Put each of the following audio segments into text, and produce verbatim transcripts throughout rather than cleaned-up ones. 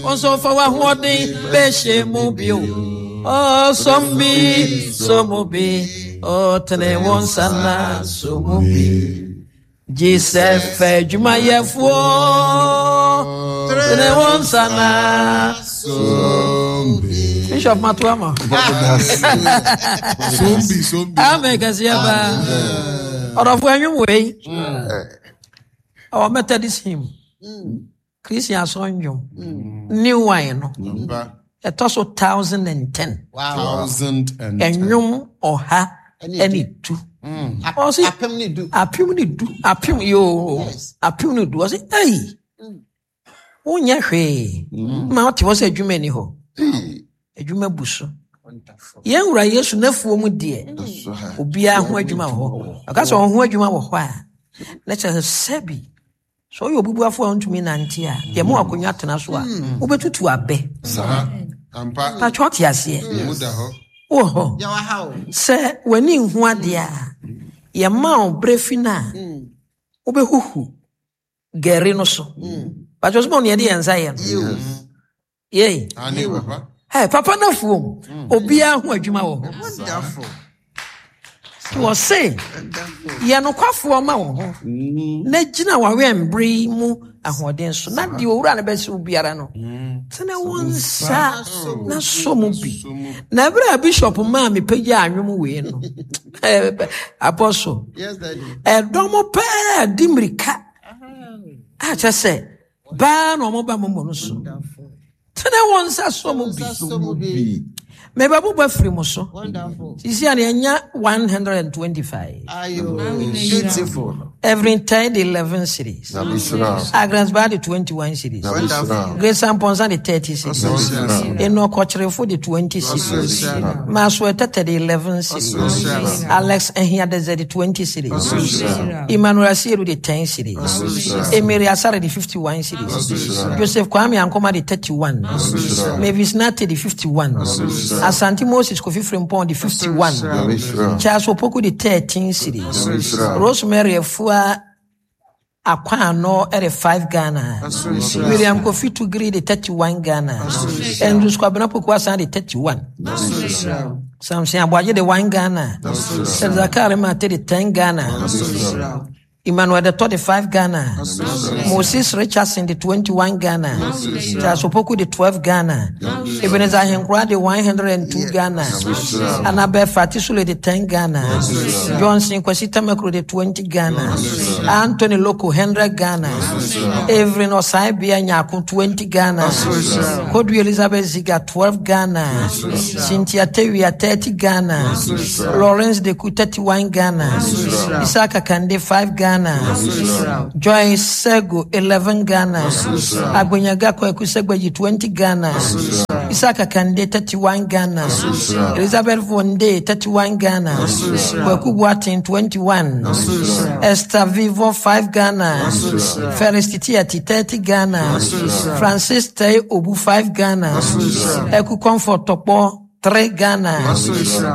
Wo nso fa w'ahoɔden bɛhyɛ mu bio. Ɔsɔm bi, sɔ mu bi. Ɔtene wo nsa na sɔ mu bi. Gye sɛ fɛ adwumayɛfoɔ. Tene wo nsa na Bishop Matuama. Sombi, sombi. Amen kɛseɛ paa. Ɔdɔfo, ɛnwom wei. Ɔwɔ Methodist hymn. Christian asɔre nnwom. New Wine no. Ampa. Ɛtɔ so thousand and ten. Wow. Thousand and ten. Ɛnwom ɔha ɛne du. Ɔse Apem ne du. Apem ne du. Apem yoo. Yes. Apem ne du. Ɔse ɛyi. Wonyɛ hwee. Ma wote hɔ sɛ adwuma ni hɔ. Adwuma bu so. Wonderful. Yɛn wura Yesu n'afuo mu deɛ, obiara ho adwuma wɔ hɔ. Ɔka sɛ ɔho adwuma wɔ hɔ a, na kyerɛ sɛ sɛbi sɛ ɔyɛ obubuafo a ɔntumi nante a, yɛma akonnwa tena so a, wobɛtutu abɛ. Saa. Ampa. Patwɛ, ɔte aseɛ? Mu da hɔ. Wɔ hɔ. Yɛwɔ ha o. Sɛ w'ani nhu adeɛ a, yɛma wo berɛ fi no a, wobɛhuhu gɛre no so. Patwɛ, sɛ ma ɔne yɛde yɛn nsa yɛ no yei. Ane papa. Hey, papa no afuom, obiara ho adwuma wɔ hɔ. Wonderful. Wɔ se Wonderful. yɛ nokwafoɔ ma wo ho na gyina w'awɛmbere yi mu ahoɔden so, na deɛ owura no bɛsɛ wo biara no, tene wo nsa na sɔ mu bi. Na ɛberɛ a Bishop maa mepagya anwom wei no, eh, Apostle, Yes, Daddy. ɛdɔm pɛɛ di mmirika a kyerɛ sɛ baa na ɔmo ba momo no so. Wonderful. Tene wo nsa sɔ mu bi. Nsa so mu bi. Mebɛbobɔ afiri mo so. Wonderful. Sisi a yɛnya one hundred and twenty-five. Ayo. Beautiful. Every ten de eleven cedis. Agnes Ba de twenty-one cedis. Wonderful. Grace Amponsa de thirty cedis. Enoch Kɔkyerefo de twenty cedis. Maswell Tete de eleven cedis. Alex Ehiadeze de twenty cedis. Emmanuel Asiedu de ten cedis. Emiri Asare de fifty-one cedis. Joseph Kwame Ankoma de thirty-one. Mavis Nate de fifty-one. Asante Moses Kofi Frimpong de fifty-one. Charles Opoku de thirteen cedis. Rosemary Afua Akwano de five Ghana. William Kofi Tugiri de thirty-one Ghana. Andrews Kwabena Poku Asan de thirty-one. Samson Aboagye de one Ghana. Zakari Mate de ten Ghana. Emmanuel de thirty-five Ghana. Moses Richardson de twenty-one Ghana. Charles Opoku de twelve Ghana. Ebenezer Ahenkura de one hundred and two Ghana. Annabel Fatisule de ten Ghana. Johnson Kwesi Tamakuro de twenty Ghana. Anthony Loco one hundred Ghana. Evelyn Osaibia Nyako twenty Ghana. Kodu Elizabeth Ziga twelve Ghana. Cynthia Tewia thirty Ghana. Lawrence Deku thirty-one Ghana. Isaka Kande five Ghana. Joyce Sego eleven Ghana. Agbenyaga Kweku Segbeji twenty Ghana. Isaka Kande thirty-one Ghana. Elizabeth Vonde thirty-one Ghana. Kweku Boatin twenty-one. Esther Vivo five Ghana. Felix Titiati thirty Ghana. Francis Tay Obu five Ghana. Eku Comfort Topo three Ghana.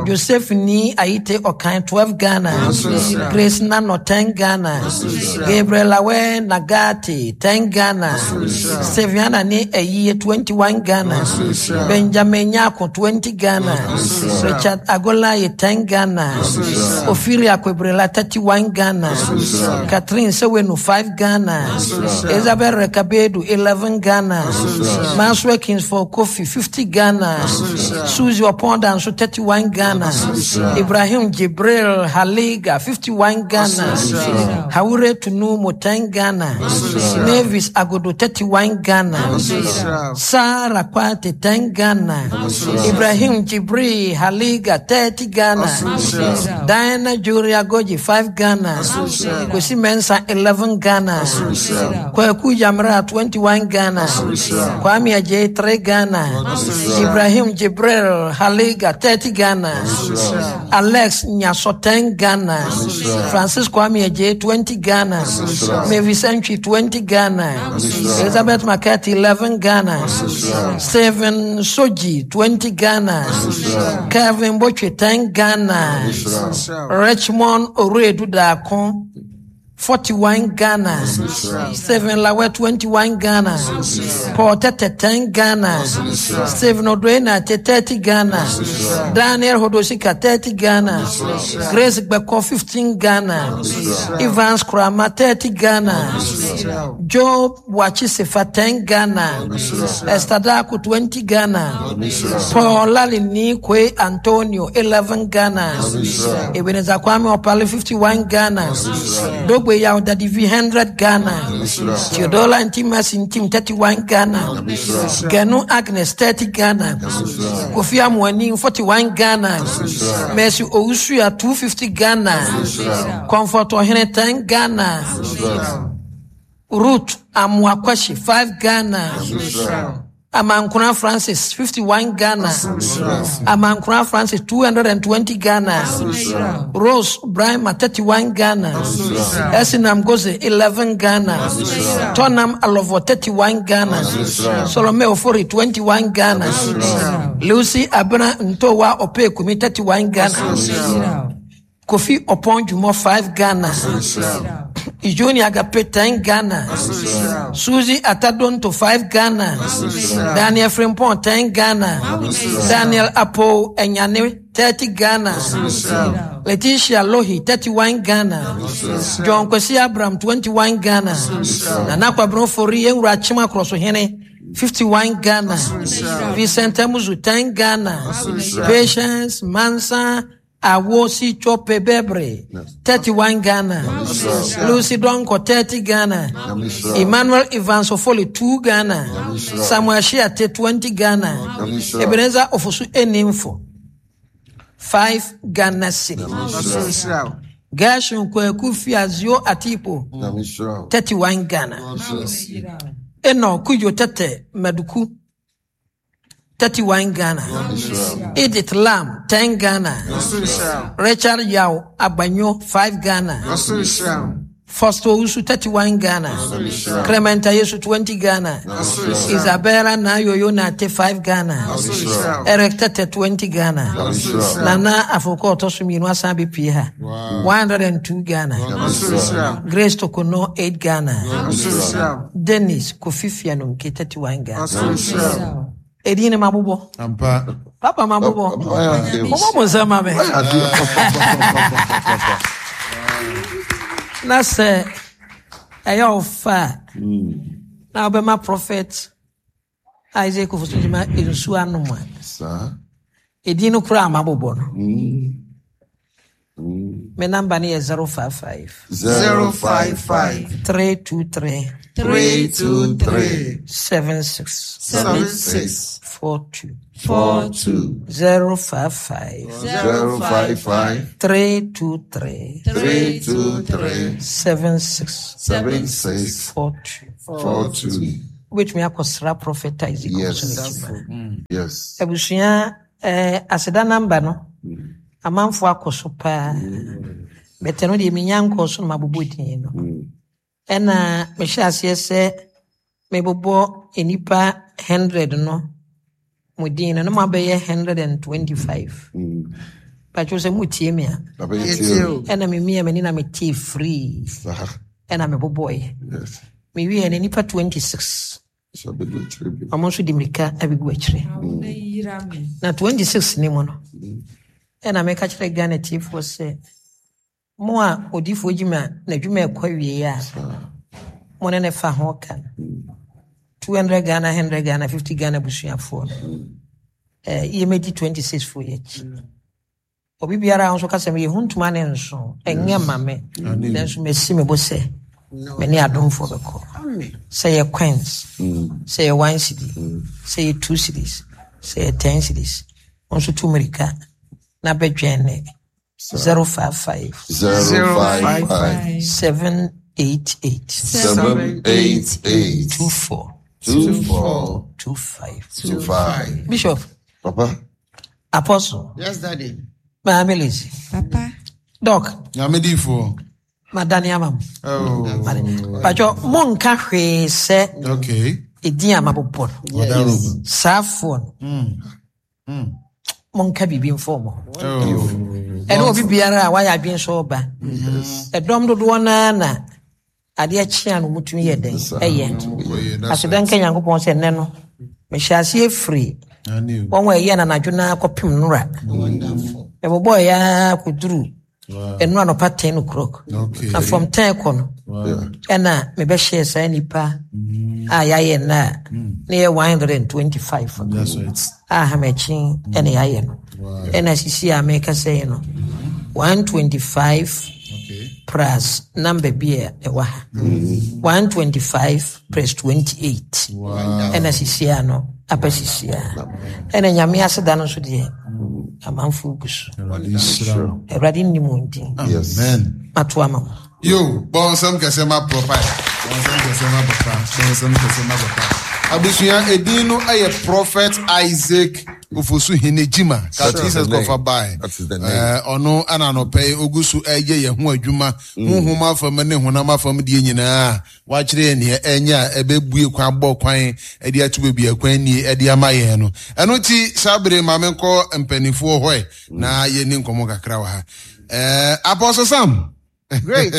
Joseph Ni Aite Okan twelve Ghana. Grace Nano ten Ghana. Gabriel Awe Nagati ten Ghana. Seviana Ni Eyiye twenty-one Ghana. Benjamin Nyako twenty Ghana. Richard Agolaye ten Ghana. Ofiri Akwebrela thirty-one Ghana. Catherine Sewenu five Ghana. Isabel Rekabedu eleven Ghana. Maxwell Kingsford Kofi fifty Ghana. Susie Oponda nso thirty-one Ghana. Ibrahim Jibril Haliga fifty-one Ghana. Haure Tunumo ten Ghana. Mavis Agodo thirty-one Ghana. Sarah Kwate ten Ghana. Ibrahim Jibril Haliga thirty Ghana. Diana Julia Goji five Ghana. Kwesi Mensah eleven Ghana. Kwaku Jamra twenty-one Ghana. Kwame Ajay three Ghana. Ibrahim Jibril Haliga thirty Ghana. Alex Nyaso ten Ghana. Francis Kwame Ajay twenty Ghana. Mavis Entry twenty Ghana. Elizabeth McCarthy eleven Ghana. Stephen Soji twenty Ghana. Kevin Boche ten Ghana. Richmond Oredu Dako forty-one Ghana. Stephen Lawe, twenty-one Ghana. Paul Tete, ten Ghana. Stephen Odwena, thirty Ghana. Daniel Hodosika, thirty Ghana. Grace Beko, fifteen Ghana. Evans Krama, thirty Ghana. Job Wachisefa, ten Ghana. Esther Daku, twenty Ghana. Paul Lalini Kwe Antonio, eleven Ghana. Ebenezer Kwame Opale, fifty-one Ghana. Dogbe Yao Dadivi, one hundred Ghana. Theodola Ntimasi Ntim, thirty-one Ghana. Ganu Agnes, thirty Ghana. Kofi Amwani, forty-one Ghana. Mercy Owusuya, two fifty Ghana. Comfort Ohene, ten Ghana. Ruth Amwakwashi, five Ghana. Amankuna Francis, fifty-one Ghana. Amankuna Francis, two hundred twenty Ghana. Rose Brahma, thirty-one Ghana. Esinam Goze, eleven Ghana. Tonam Alovo, thirty-one Ghana. Solome Ofori, twenty-one Ghana. Lucy Abena Ntowa Opekumi, thirty-one Ghana. Kofi Opon Jumo, five Ghana. Ijoni Agape, ten Ghana. Susie Atadonto, five Ghana. Daniel Frimpong, ten Ghana. Daniel Apo Enyane, thirty Ghana. Letitia Lohi, thirty-one Ghana. John Kwesi Abram, twenty-one Ghana. Nana Kwabro Fori Enwura Chima Krosohene, fifty-one Ghana. Vincent Emuzu, ten Ghana. Patience Mansa Awosi Chope Bebre, thirty-one Ghana. Lucy Donko, thirty Ghana. Emmanuel Evans Ofoli, two Ghana. Samuel Shiate, twenty Ghana. Ebenezer Ofosu Enimfo, five Ghana cedis. Gershon Kweku Fiazio Atipo, thirty-one Ghana. Eno Kujo Tete Maduku, thirty-one Ghana. Edith Lam, ten Ghana. Richard Yao Abanyo, five Ghana. Foster Usu, thirty-one Ghana. Clement Yesu, twenty Ghana. Isabella Nayoyo Nate, five Ghana. Eric Tete, twenty Ghana. Nana Afoko Otosumi Nwasabi Pia, one hundred two Ghana. Grace Tokono, eight Ghana. Dennis Kofi Fianunke, thirty-one Ghana. Edine mabubo. Ampa. Papa mabubo. Omo mo nsa me. Na se eyo ofa. Na obema prophet Isaac Ofosu-Gyimah ensu anum a. Sa. Edine kura mabubo no. Me number ni zero five five. zero five five. three two three. three two three. seven six. seven six. four two. four two. zero five five. zero five five. three two three. three two three. seven six. seven six. four two. four two. Which me akosra prophet Isaac. Yes. Yes. Ebusia eh aseda number no. Amanfo akoso pa. Bete no de minya nko so no mabobo din no. Ena me hye ase se me bobo enipa hundred no mudin no ma be one hundred twenty-five. But you say mutie me a. Ena me mia me ni na me tie free. Ena me bobo e. Yes. Me wi ena nipa twenty-six. So be good. Amo so di mrika abegu akire. Na twenty-six ni mo no. Ena me ka kire Ghana tifo se mo a odifo Gyimah na dwuma ekwa wie a mo ne ne fa ho ka two hundred Ghana, one hundred Ghana, fifty Ghana busuafo eh ye medi twenty-six fo ye chi obi biara nso ka se me huntuma ne nso enye ma me nso me si me bo se me ne adomfo beko say ye coins, say ye one cedi, say ye two cedis, say ye ten cedis nso tu America na bedwen zero five five zero five five seven eight eight seven eight eight two four two four two five two five. Bishop. Papa. Apostle. Yes, Daddy. Maame Lizzy. Papa. Doc. Nyame difo. Madani amam. Oh. Pacho monka hwe se. Okay. Edin amabobo. Yes. Safon. Mm. Mm. Monka biribi mfa ɔmo ho. Oh. Ɛne obi biara a wayɛ adwene sɛ ɔba. Ɛdɔm dodoɔ naa na adeɛ kyea no mutumi yɛ dɛn ɛyɛ. Kɔyɛ, that's Aseda nka Nyankopɔn sɛ nnɛ no mehyɛ aseɛ firi right. Ane o. wɔn a ɛyɛ nanadwo naa kɔpem nnora. Wonderful. Ɛbobɔɔ yɛa kɔduru Wow. ɛno anɔpa ten o'clock. Okay. Na from ten kɔ no Wow. ɛna mebɛhyɛɛ saa nnipa a yɛayɛ nna a ne yɛ one hundred and twenty-five That's right. a hamakyi ɛna yɛayɛ no. Wow. Ɛna sisi a meka sɛ no one twenty-five Okay. plus number bi a ɛwɔ ha. one twenty-five plus twenty-eight. Wow. Ɛna sisi a no aba sisi a. Ɛna Nyame aseda no nso deɛ amanfo gu so. Awurade nhyira wo. Awurade nnim wɔn din. Yes. Amen. Mato ama mo. Yo, bɔnsɛm kɛse ma papa. Bɔnsɛm kɛse ma papa. Bɔnsɛm kɛse ma papa. Abusua edin no ɛyɛ Prophet Isaac Ofosu Henejima. Ka That is Jesus the name. kɔfa bae. That is the name. Eh, ɔno ana anɔpɛ yi ogu so ɛyɛ yɛn ho adwuma. Honhom afam ne honam afam deɛ nyinaa. Wakyerɛ yɛn nea ɛnyɛ a ɛbɛbue kwan bɔ kwan ɛde ato baabi a kwan nie ɛde ama yɛn no. Ɛno ti saa bere maame nkɔ mpanimfoɔ hɔ ɛ na yɛni nkɔmmɔ kakra wɔ ha. Eh, Apostle Sam. Great.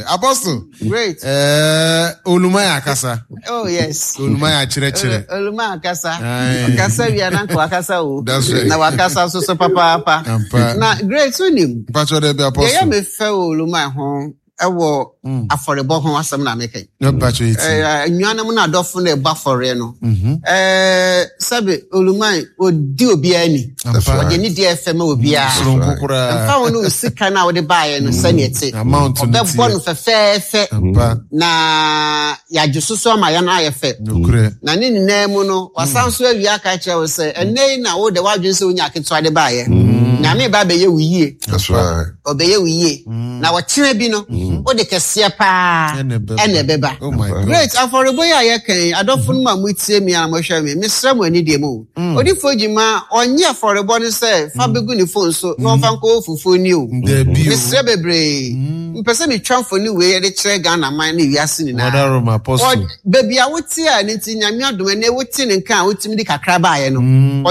Apostle. Great. Eh, Olumaya akasa. Oh yes. Olumaya akyerɛkyerɛ. Oluma akasa. Aye. Akasa wia na nka wakasa o. That's right. Na wakasa so so papaapa. Ampa. Na great wonim. Mpatsɔ dɛ bi Deɛ ɛyɛ Apostle. me fɛ wɔ Oluma ho ɛwɔ afɔrebɔ ho asɛm na meka yi. Ne mpatsɔ yi ti. Eh, Nnuanom no adɔfo no ɛbɔ afɔreɛ no. Eh, sɛbe Oluma odi obiara ni. Ampa. Ɔde ne deɛ ɛfɛ ma obiara. Soronko koraa. Mfa wo ne wo sika no a wode baeɛ no sɛneɛ te. Amount no Ɔbɛbɔ teɛ. no fɛfɛɛfɛ. Ampa. Na yɛagye so so ama yɛn ayɛ fɛ. Nokorɛ. Na ne nyinaa mu no wasan so awie aka kyerɛ wo sɛ ɛnnɛ yi na wode w'adwene sɛ wonya aketewa de baeɛ. Nyame ba bɛyɛ wo yie. That's right. Ɔbɛyɛ wo yie. Na wɔkyena bi no wode kɛseɛ paa Ɛna ɛbɛba. ɛna ɛbɛba. Oh my God. Great afɔrebɔ yi a yɛka yi adɔfo no mu a motie mi a mohwɛ me mesrɛ mo ani deɛ mu o. Odiyifoɔ Gyima ɔnyɛ afɔrebɔ no sɛ fa bɛgu ne phone so na ɔmfa nkɔwɔ fufuo ni o. Dabi o. Mesrɛ bebree. Mpɛ sɛ metwa mfoni wei yɛde kyerɛ Ghana man ne wiase nyinaa. Mother Rome Apostle. Ɔd- baabi a wote a ne nti Nyame adom ɛnɛ wote ne nka a wotumi de kakra baeɛ no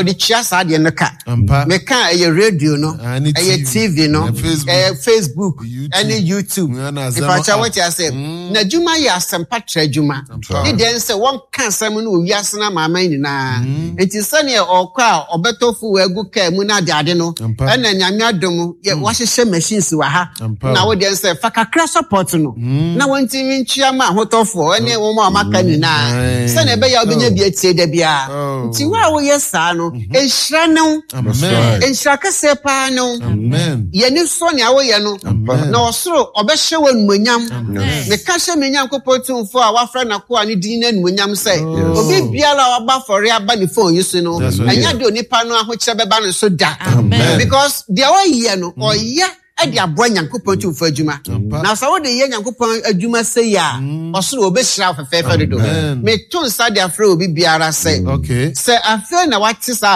ɔde tua saa adeɛ no ka. Ampa. Meka ɛyɛ radio no, Ah, ne ɛyɛ T V, T V no, ɛyɛ Facebook, ɛyɛ Facebook, YouTube. ɛne YouTube. Ɛna Azama Mfakyɛ app. wote ase. N'adwuma yɛ asɛmpa trɛ adwuma. Ampa. Ne deɛ nsɛ wɔnka asɛm no wɔ wiase no ama aman nyinaa. Nti sɛneɛ ɔkɔ a ɔbɛtɔ fu agu kaa mu no ade ade no, Ampa. ɛna Nyame adom yɛ wɔahyehyɛ machines wɔ ha. Ampa. Na wo deɛ nsɛ fa kakra support no. Na wɔntumi ntua ma ahotɔfoɔ ɛne wɔn a wɔaka nyinaa. Aye. Sɛneɛ ɛbɛyɛ a wobɛnya bi atie da biara. Oh. Nti wo a woyɛ saa no, nhyira ne wo. Amen. Nhyira kɛseɛ paa ne wo. Amen. Yɛni sɔ nea woyɛ no. Amen. Na ɔsoro ɔbɛhyɛ wo animuonyam. Amen. Meka hyɛ me Nyankopɔn tumfoɔ a wafrɛ n'akoa ne din no animuonyam sɛ obi biara a waba afɔre aba ne phone yi so no, That's right. ɛnyɛ de onipa no ahokyerɛ bɛba ne so da. Amen. Because deɛ ɔyɛ no, ɔyɛ ɛde aboa Nyankopɔn tumfoɔ adwuma. Ampa. Na sɛ wode yɛ Nyankopɔn adwuma sɛ yi a, ɔsoro ɔbɛhyira wo fɛfɛɛfɛ dodo. Amen. Meto nsa de afrɛ obi biara sɛ Okay. sɛ afei na wate saa